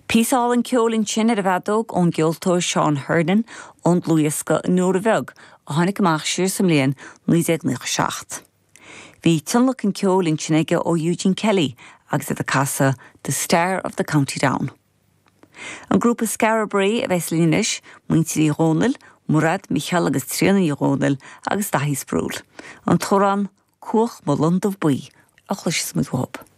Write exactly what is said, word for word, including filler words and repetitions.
Píosa álainn ceoil ansin ar an bhfeadóg ón gceoltóir Seán Hernon ón dlúthdhiosca An Iora Bheag a tháinig amach siar sa mbliain naoi déag nócha seacht. Bhí tionlacan ceoil ansin aige ó Eugene Kelly agus iad ag casadh The Star of the County Down. An grúpa Skara Brae a bheas linn anois, muintir Uí Dhónaill, Mairéad, Micheál agus Tríona Ní Dhónaill agus Daithí Sproule. An t-amhrán Cuach mo londubh buí a chloisfidh muid uathu.